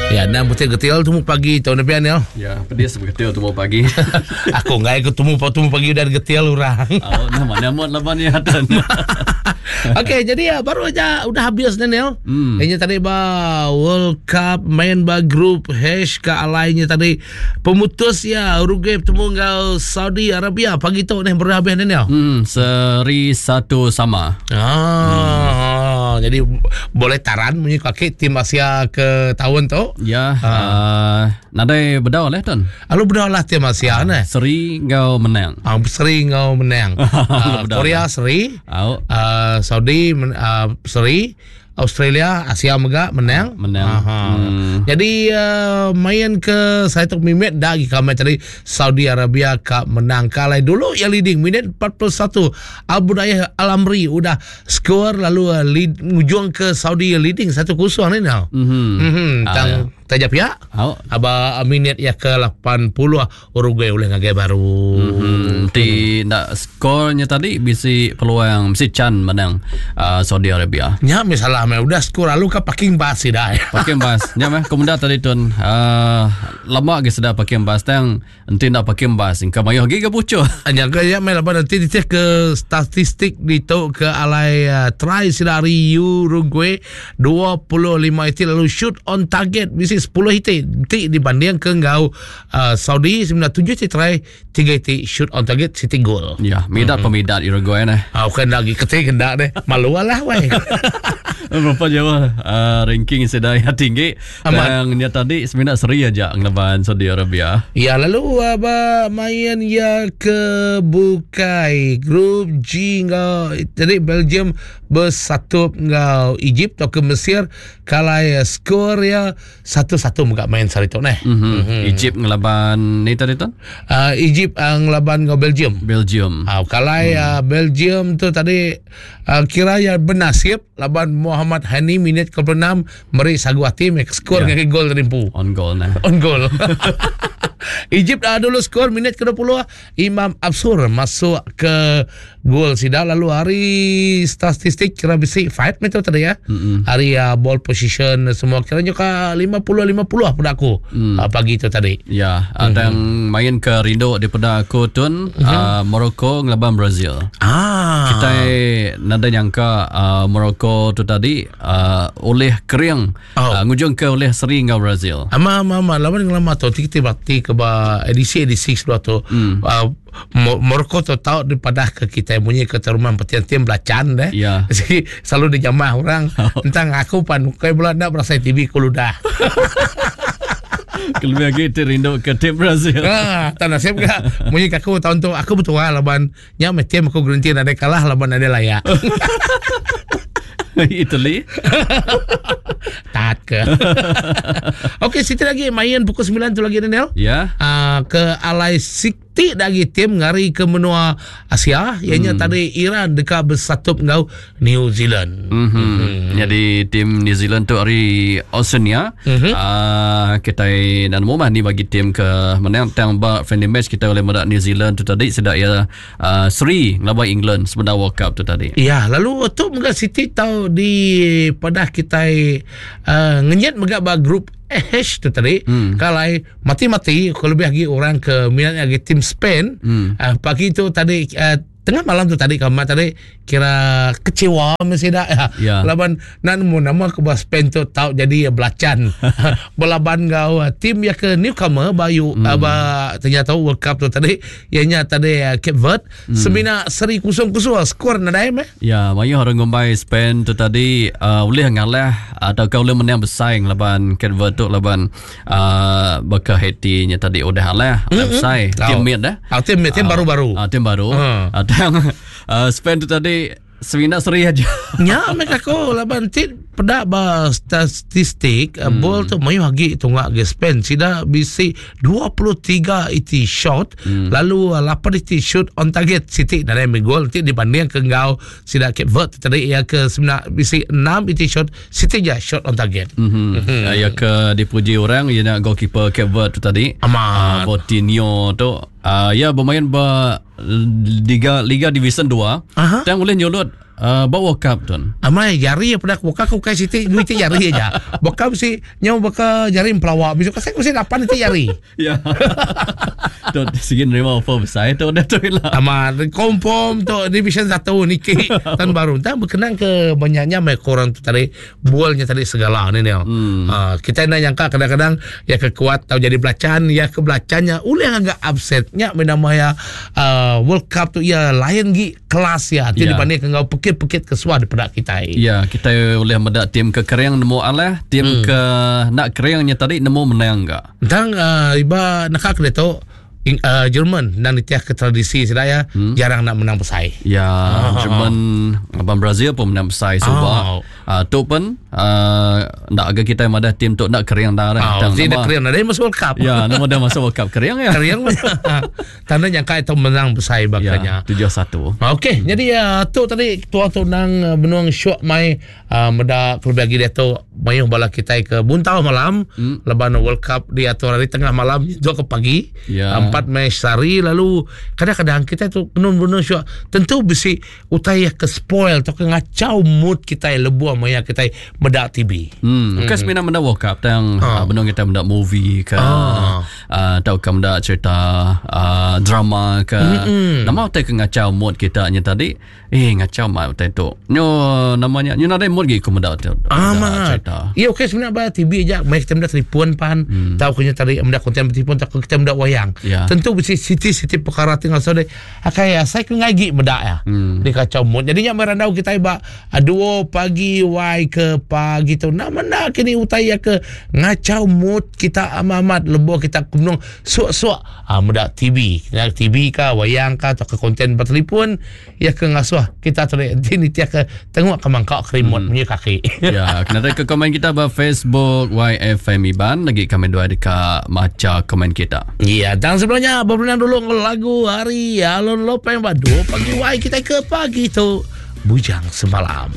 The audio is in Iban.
Ya, nang putih getil tumu pagi tu nepian ya. Ya, pedis begetil tumu pagi. Aku ngai ke tumu tumu pagi udah getil orang. Oh, nama nama laban ya tan. Okey, jadi ya baru aja udah habis Daniel. Hmm. Ini tadi ba World Cup main ba group H ke alainya tadi pemutus ya Uruguay bertemu enggau Saudi Arabia pagi tu ni baru habis Daniel. Hmm, seri satu sama. Ah, hmm. jadi boleh taran munyi kaki tim Asia ke tahun tu. Ya, ha. uh, nadai bedau lah tuan. Lalu bedau lah tim Asia uh, ne. Seri ngau menang. Ah, seri ngau menang. uh, Korea seri. Uh, Saudi uh, seri. Australia Asia mega menang. Menang. Aha. Hmm. Jadi uh, main ke saya tu mimit dah lagi kami tadi Saudi Arabia ka menang kalai dulu yang leading minit 41 Abu Dayah Al Amri udah skor lalu uh, lead ngujung ke Saudi leading 1-0 ni now. Mhm. Mhm. Ah, Tang ya. taja pia. Au. Aba minit ya ke 80 Uruguay ulih ngagai baru. Hmm, ti nak skornya tadi bisi peluang bisi chan menang uh, Saudi Arabia. Nya misalah meh udah skor lalu ka parking bus sida. Parking bus. Nya meh kemudah tadi tun uh, lama ge seda parking bus tang enti enda parking bus engka mayuh agi ga bucuh. Nya ke ya meh laban nanti ditih ke statistik ditu ke alai uh, try sida ari Uruguay 25 iti lalu shoot on target bisi 10 iti ti dibanding ke enggau uh, Saudi semina 7 ti try 3 iti shoot on target siti gol. Ya, midat mm-hmm. pemidat Uruguay nah. Ah, bukan lagi ketik kendak deh. Malu lah weh. Berapa jauh uh, ranking sida yang tinggi. Amat. Dan dia tadi semina seri aja ngelaban Saudi Arabia. Ya lalu apa main ya ke bukai grup G enggau jadi Belgium besatup enggau Egypt tauka Mesir kalai skor ya satu-satu mega main sehari tu neh. Mm-hmm. Mm-hmm. Egypt ngelaban ni tadi tu? Uh, Egypt uh, ngelaban enggau Belgium. Belgium. Uh, kalai mm. uh, Belgium tu tadi uh, kira ya bernasib laban Muhammad Hani minit ke-6 meri sagu hati mek skor yeah. ngagai gol tadi empu. On goal nah. On goal. Egypt uh, dulu skor minit ke-20 Imam Absur masuk ke gol sida lalu hari statistik kira bisi fight metu tadi ya. Mm-hmm. Hari uh, ball position semua kira ka 50-50 lah pada aku mm. uh, pagi tu tadi. Ya, mm-hmm. dan main ke rindu daripada aku tun mm-hmm. uh, Morocco ngelaban Brazil. Ah. Kita nada nyangka uh, Morocco tu tadi uh, oleh kering Oh. Uh, ngujung ke oleh seri enggau Brazil. Ama ama ama laban ngelama tu ti kita bakti ke ba edisi edisi sebelah tu. Mm. Uh, Morocco tu tau dipadah ke kita munyi ke rumah petian tim belacan deh. Ya. Jadi selalu dijamah orang Oh. tentang aku pan kai bela ndak berasa TV ku ludah. Kelebih lagi ti rindu ke tim Brazil. Ah, tak nasib ke munyi ke aku tahun tu aku betul lah laban nya meh tim aku gerenti nadai kalah laban nadai layak. Italy. Tat ke. Okey, Siti lagi main pukul 9 tu lagi Daniel. Ya. Uh, ke alai Siti lagi tim ngari ke menua Asia ianya hmm. tadi Iran dekat bersatup ngau New Zealand. Mm-hmm. Mm-hmm. Jadi tim New Zealand tu hari Oceania. Mm-hmm. Uh, kita dan mumah ni bagi tim ke menang tang ba friendly match kita oleh medak New Zealand tu tadi sedak ya uh, seri ngelaban England sebenar World Cup tu tadi. Ya, lalu tu mega City tahu di padah kita uh, ngenyet mega ba grup H tu tadi hmm. kalau mati-mati kalau lebih lagi orang ke minat lagi tim Spain hmm. uh, pagi tu tadi uh, tengah malam tu tadi kamu tadi kira kecewa mesti dah ya. Ya. Laban nak nemu nama ke bah Spain tu tau jadi belacan. Belaban kau tim ya ke newcomer bayu hmm. aba ternyata World Cup tu tadi ianya tadi Cape Verde hmm. semina seri kusung-kusung skor nadai meh. Ya, mayu orang ngumbai Spain tu tadi uh, boleh ngalah atau kau boleh menang bersaing laban Cape Verde tu laban uh, baka Haiti nya tadi udah alah mm-hmm. bersaing tim mid dah. Ah, tim mid, tim baru-baru. Ah, tim baru. Hmm. Uh, tang uh, Spain tu tadi semina seri aja. Nya mereka ko laban ti peda ba statistik hmm. bol tu mayu agi tunga ge Spain sida bisi 23 iti shot hmm. lalu 8 iti shoot on target siti dari gol ti dibanding ke ngau sida Cape Verde tadi ia ke semina bisi 6 iti shot siti ja shot on target. Mm-hmm. Mm-hmm. Ya ke dipuji orang ia nak goalkeeper Cape Verde tu tadi. Amat. Uh, Botinho tu uh, ya bermain ba Liga Liga Division 2. Aha. Tang boleh nyulut Uh, ba World Cup tu. Amai jari peda aku buka aku ukai siti dua iti jari aja. Buka bisi nyau baka jari empelawa bisi kasih bisi lapan iti jari. Ya. Tu sigi nerima offer besai tu dah tu ila. Amat confirm tu division 1 niki tahun baru. Tang berkenang ke banyaknya mai korang tu tadi bualnya tadi segala ni ni. Hmm. Uh, kita nak nyangka kadang-kadang ya ke kuat tau jadi belacan ya ke belacannya ulih agak upset nya nama ya uh, World Cup tu ya lain gi kelas ya ti yeah. dibanding enggau pekit-pekit ke suah dipeda kitai. Ya, yeah, kitai ulih meda tim ke kering nemu alah, tim hmm. ke nak keringnya tadi nemu menang ga. Tang uh, iba naka ke tu uh, Jerman dan nitiah ke tradisi sida ya hmm. jarang nak menang besai. Ya, ah. Jerman abang Brazil pun menang besai suba. Oh. Uh, tu pun uh, nak agak kita madah tim tu nak kering dah. Oh, dia kering dah dia masuk World Cup. Ya, nama dia masuk World Cup kering ya. Kering. Tanda nyangka itu menang besai bakanya. Ya, 7-1. Okey, hmm. jadi uh, tu tadi tua tu nang uh, benung syok mai uh, meda kelebih lagi dia tu mayuh bala kita ke buntau malam hmm. leban World Cup diatur hari tengah malam dua ke pagi. Ya. Empat match sehari lalu kadang-kadang kita tu benung benung syok tentu bisi utai ke spoil atau ke ngacau mood kita lebuh maya kita meda TV. Hmm. Bukan semina meda World Cup tang ha. uh, benung kita meda movie ke ha. uh, tau ke meda cerita uh, drama ke. Mm-hmm. Nama utai ke ngacau mood kita nya tadi eh ngacau mat utai tu. Nyo namanya nyo nadai mood gi ku meda tu. Ah, cerita. Ya okey sebenarnya ba TV aja mai kita meda telefon pan mm. tau ke nya tadi meda konten telefon tau ke kita meda wayang. Yeah. Tentu bisi siti-siti perkara tinggal so Akai asai ke ngagi meda ya. Hmm. Di kacau mood. Jadi nya merandau kita ba duo pagi wai ke pagi tu. Nak menda kini utai ya ke ngacau mood kita amat-amat lebuh kita kunung suak-suak ah, meda TV. Kena TV ka wayang ka atau ke konten bertelefon ya ke ngasuh kita tu ni tia ke tengok ke mangkak ke remote hmm. punya kaki. ya, kena ke komen kita ba Facebook YFM Iban lagi kami dua dekat maca komen kita. Ya, dan sebelumnya berpenang dulu lagu hari Alon Lopeng ba dua pagi wai kita ke pagi tu Bujang Semalam.